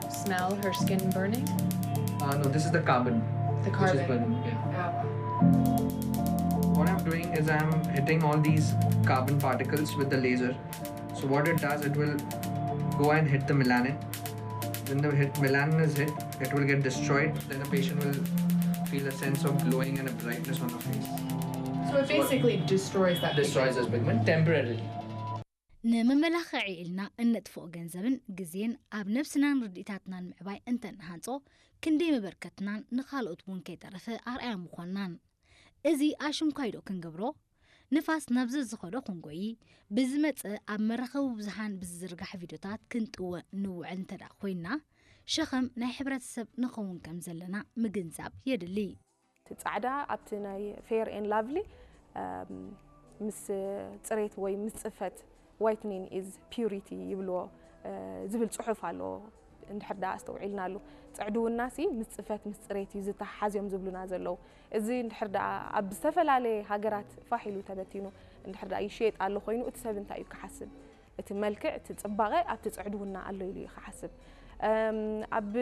Smell her skin burning? Uh, no, this is the carbon. The Which is carbon. Burning. Yeah. Oh. What I'm doing is I'm hitting all these carbon particles with the laser. So what it does, it will go and hit the melanin. When the hit melanin is hit, it will get destroyed. Then the patient will feel a sense of glowing and a brightness on the face. So it basically destroys that. Destroys this pigment temporarily. ንመመላኽዒ ኢልና እነጥፍኦ ገንዘብን ግዜን ኣብ ነብስናን ርድኢታትናን ምዕባይ እንተንሃንጾ ክንደይ መበርከትናን ንኻልኦት እውን ከይተረፈ ኣርኣያ ምዃንናን። እዚ ኣሽንኳይ ዶ ክንገብሮ? ንፋስ ናብ ዘዝኸዶ ክንጎይ ብዝመጸ ኣብ መራኸቢ ብዙሃን ብዝዝርጋሕ ቪድዮታት ክንጥወ ንውዕል እንተ ደኣ ኮይንና ሸኸም ናይ ሕብረተሰብ ንኸውን ከም ዘለና ምግንዛብ የድሊ። እቲ ጻዕዳ ኣብቲ ናይ Fair and Lovely ምስ ጽሬት ወይ ምስ ጽፈት whitening is purity ይብልዎ ዝብል ጽሑፍ ኣለዎ። እንድሕር ደኣ ኣስተውዒልናሉ ጽዕድውና ሲ ምስ ጽፈት ምስ ጽሬት እዩ ዝተሓሓዝ እዮም ዝብሉና ዘለዉ። እዚ እንድሕር ደኣ ኣብ ዝተፈላለየ ሃገራት ፋሕ ኢሉ ተበቲኑ እንድሕር ደኣ ይሽየጥ ኣሎ ኮይኑ እቲ ሰብ እንታይ እዩ ክሓስብ? እቲ መልክዕ እቲ ጽባቐ ኣብቲ ጽዕድውና ኣሎ ኢሉ እዩ ክሓስብ። ኣብ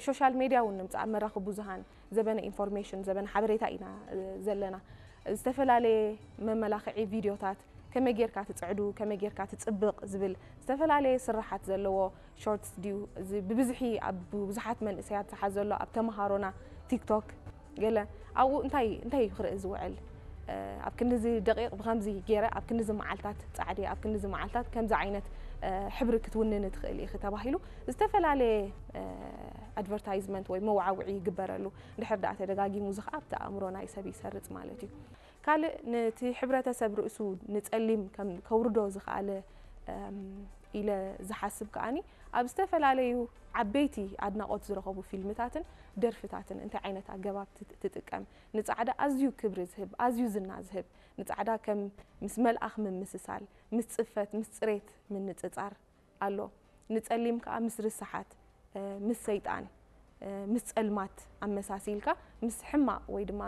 social media እውን ንምጻእ ኣብ መራኽብ ብዙሃን ዘበነ information ዘበነ ሓበሬታ ኢና ዘለና። ዝተፈላለየ መመላኽዒ ቪድዮታት ከመይ ጌርካ ትጽዕዱ ከመይ ጌርካ ትጽብቕ ዝብል ዝተፈላለየ ስራሓት ዘለዎ shorts ድዩ እዚ ብብዝሒ ኣብ ብዙሓት መንእሰያት ዝሓዘሎ ኣብ ተምሃሮና TikTok ገለ ኣብኡ እንታይ እንታይ እዩ ክርኢ ዝውዕል ኣብ ክንድዚ ደቂቕ ብከምዚ ገይረ ኣብ ክንድዚ መዓልታት ጻዕዲ ኣብ ክንድዚ መዓልታት ከምዚ ዓይነት ሕብሪ ክትውንኒ ትኽእል ኢኺ ተባሂሉ ዝተፈላለየ advertisement ወይ መወዓውዒ ይግበረሉ። እንድሕር ደኣ ተደጋጊሙ እዚ ከዓ ኣብቲ ኣእምሮ ናይ ሰብ ይሰርጽ ማለት እዩ። ካልእ ነቲ ሕብረተሰብ ርእሱ ንጸሊም ከም ከውርዶ ዝኸኣለ ኢለ ዝሓስብ ከኣኒ ኣብ ዝተፈላለዩ ዓበይቲ ኣድናቖት ዝረኸቡ ፊልምታትን ደርፍታትን እንታይ ዓይነት ኣገባብ ትጥቀም ንጻዕዳ ኣዝዩ ክብሪ ዝህብ ኣዝዩ ዝና ዝህብ ንጻዕዳ ከም ምስ መልኣኽ ምምስሳል ምስ ጽፈት ምስ ጽሬት ምንጽጻር ኣሎ ንጸሊም ከኣ ምስ ርስሓት ምስ ሰይጣን ምስ ጸልማት ኣመሳሲልካ ምስ ሕማቕ ወይ ድማ